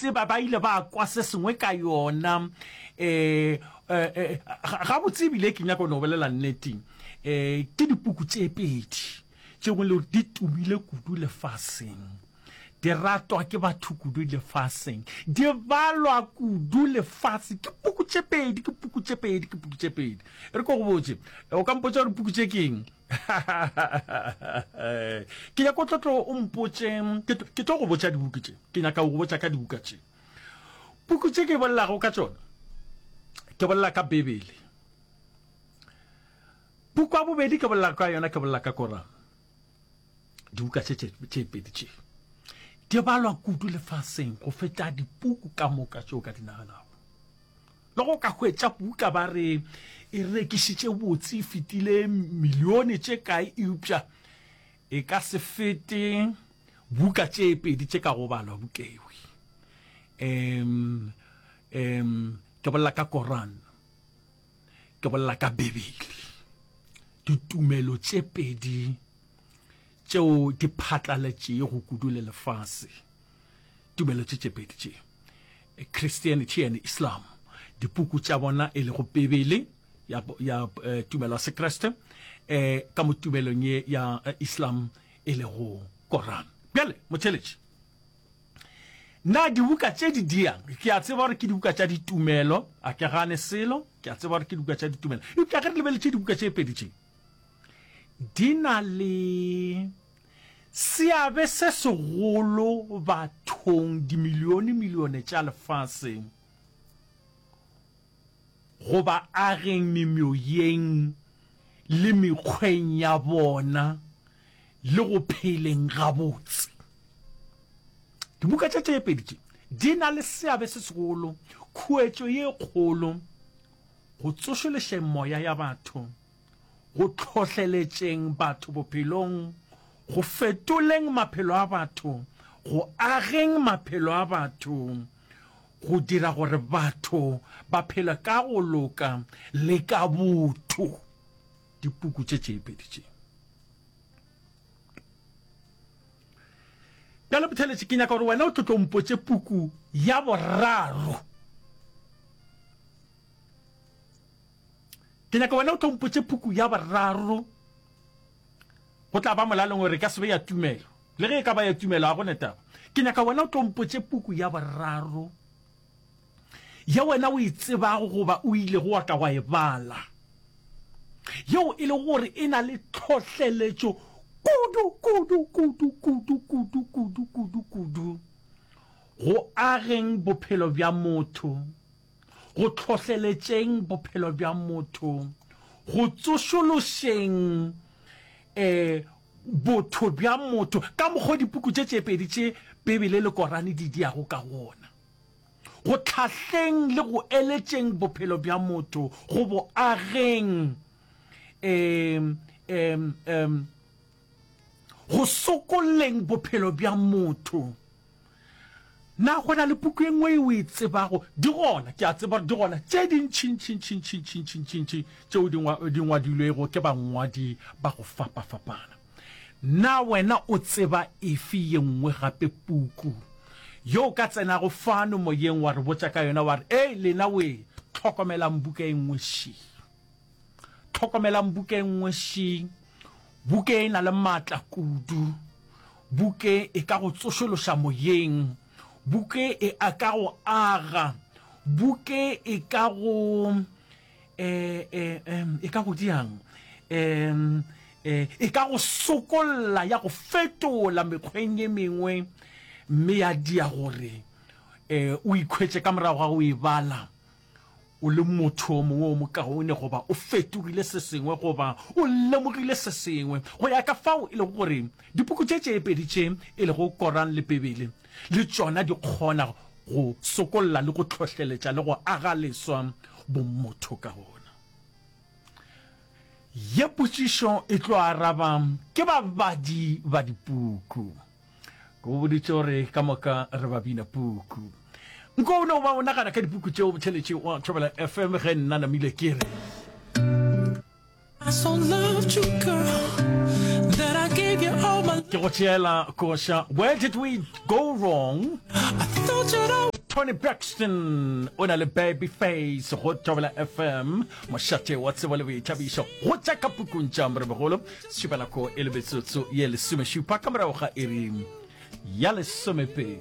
tseba, ba ile ba kwa se sengwe ka yona. Um gabotse ebile ke nyaka go no bolela nnete, um ke dipuku tše pedi tšeo e le gore di tumile kudu lefaseng. Di ratwa ke batho kudu lefaseng. Di balwa kudu lefaseng. Ke puku tše pedi, ke puku tše pedi, ke puku tše pedi. E re ko go botše, o ka mpotša gore puku tše ke eng? Ke nyaka o tlo tlo o mpotše, ke tlo go botša dibuku tše. Ke nyaka go botša ka dibuka tše. Puku tše ke bolelago ka tšona, ke bolela ka Bibele. Puku ya bobedi ke bolela ka yona, ke bolela ka Koran. Dibuka tše tše pedi tše di balwa kudu lefaseng go feta dipuku ka moka tše o ka di naganago. Le go ka hwetša buka ba re e rekišitše botse e fetile milione tše kae, eupša e ka se fete buka tše pedi tše ka go balwa bukewi. Um, um, ke bolela ka Koran, ke bolela ka Bibele. Ditumelo tše pedi tšeo di phatlaletšego kudu le lefase. Tumelo tše tše pedi tše, Christianity and Islam, dipuku tša bona e lego Bibele ya, ya eh, tumelo ya Sekriste, eh, ka mo tumelong ye ya eh, Islam e lego Koran. Bjale, motheletši, na dibuka tše di diang? Ke a tseba gore ke dibuka tša ditumelo, a ke gane selo, ke a tseba gore ke dibuka tša ditumelo. Eupša ge re lebeletše dibuka tše pedi tše, di na le seabe se segolo bathong dimilionemilione tša lefase go ba ageng memoyeng le mekgweng ya bona le go pheleng gabotse. Dibuka tše tše pedi tše di na le seabe se segolo, khuetšo ye kgolo go tsošološeng moya ya batho, go hlohleletšeng batho bophelong, go fetoleng maphelo a batho, go ageng maphelo a batho, go dira gore batho ba phele ka go loka le ka botho. Dipuku tše tše pedi tše. Bjale Botheletše, ke nyaka gore wena o tlo tlo mpotše puku ya boraro. Ke nyaka wena o tlo mpotše puku ya boraro. Go tla ba molaleng gore e ka se be ya tumelo. Le ge e ka ba ya tumelo, ga go ne taba. Ke nyaka wena o tlo mpotše puku ya boraro ye wena o e tsebago goba o ilego wa ka wa e bala, yeo e lego gore e na le tlhohleletšo kudu, kudu, kudu, kudu, kudu, kudu, kudu, kudu go ageng bophelo bja motho. go hlohleletšeng bophelo bja motho, go tsošološeng um botho bja motho ka mokgwa dipuku tše tše pedi tše Bibele le Korane di diago ka gona, go hlahleng le go eletšeng bophelo bja motho, go bo ageng um um um go sokolleng bophelo bja motho. Na go na le puku e nngwe ye o e tsebago? Di gona, ke a tseba gore di gona tše dintšintšintšintšintšintšintši tšeo di di ngwadilwego ke bangwadi ba go fapafapana. Na wena o tseba efe ye nngwe gape puku ye o ka tsenago fano moyeng wa re botša ka yona wa re, Ei, lena wee, hlokomelang buka e nngwe še. Hlokomelang buka e nngwe še. Buka e na le matla kudu. Buka e ka go tsošološa moyeng. Buka e a ka go aga. Buka e ka go e, e, e ka go diang? E, e, e ka go sokolla ya go fetola mekgweng e mengwe mme ya dia gore e, o ikhwetše ka morago ga go e bala o le motho o mongwe o mokaone goba o fetogile se sengwe goba o lemogile se sengwe go ya ka fao e lego gore dipuku tše tše pedi tše e lego Koran le Bibele le tšona di kgona go sokolla le go hlohleletša le go aga leswa bomotho ka gona. Ye potšišo e tlo araba ke babadi ba dipuku. Ke go boditše gore ka moka re ba bina puku. Nko o no ba o nagana ka dipuku tšeo botheletše wa Thobela FM ge nna namile ke re. Ke go tšeela koša Where did we go wrong? Toni Braxton o na le Baby Face go Thobela FM, mošate wa tsebo le boithabišo go tša ka pukung tša Morebogolo. Šupa nako e le metsotso ye lesomešupa ka morago ga iri ya lesomepedi.